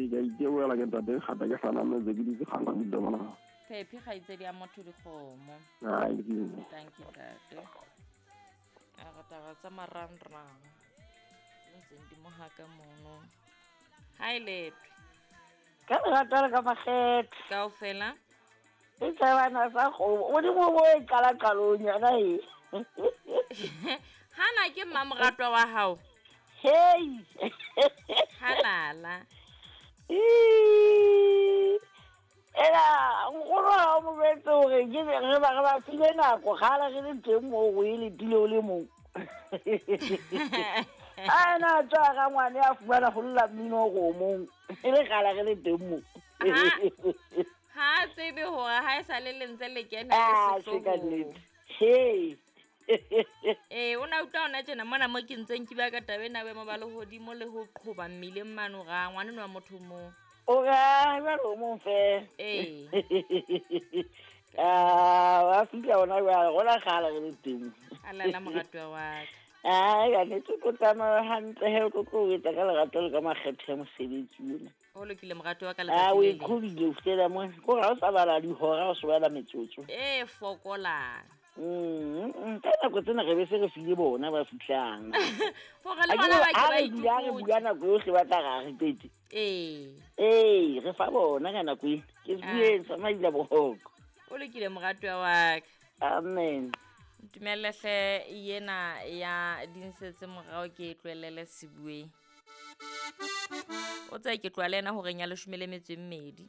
Ee, ke a iteboela ke ntate kgata ke hlanametse ke ditse kgana mona. Phephi kgaitsedi ya motho dikgomo. Ai, ke Thank you ntate. A re taba tsa marangrang di ntseng di mo haka mono. Ha e letwe. Ka lerato le ka makgethe. Kaofela. E tsebana sa kgomo. Modimo o e qala qalong yona e. Hana ke mmamoratwa wa hao. Hei. Halala. Ii. Ela nkgono ha o mo jwetse hore ke re ba re ba file nako kgale re le teng moo o e letile o le mong. A ena a tswa ga ngwane a fumana go lla mmino go mong e le kgale re le teng mo. Ha a tsebe hore ha e sa le lentse le kena le Ah, se ka sehloohong. nnete. Hei. Ee, o na utlwa hona tjena mona mo ke ntseng ke bua ka taba ena boemo ba lehodimo le ho qhoba mmileng mane o ra ngwaneno wa motho moo. O ra jwale o mong fela. Ee. Ah, wa fihla hona jwale, rona kgale re le teng. Alala moratuwa wa ka. Ai, ka nnete o tlo tsamaya hantle he, o tlo tlo o etsa ka lerato le ka makgethe a mosebetsi ona. Ho lokile moratuwa wa ka Ah, letsatsi o le e leng. qhobile ho fihlela mona. Ke hore ha o sa bala dihora, o se bala metsotso. E fokolang. Ka nako tsena re be se re file bona ba fihlang. Hore le Ha ke bona re ba ke ha ba re dula re bua itukutse. nako yohle ba tla re ha re qete. Ee. Ee, re fa bona ka nako ena. Ke Ah. bueng sa maila boroko. O lokile moratuwa wa ka. Amen. Ntumelle hle yena ya dinsetse morao ke e tlohellele sebueng. O tsebe ke tloha le yena horeng ya 12.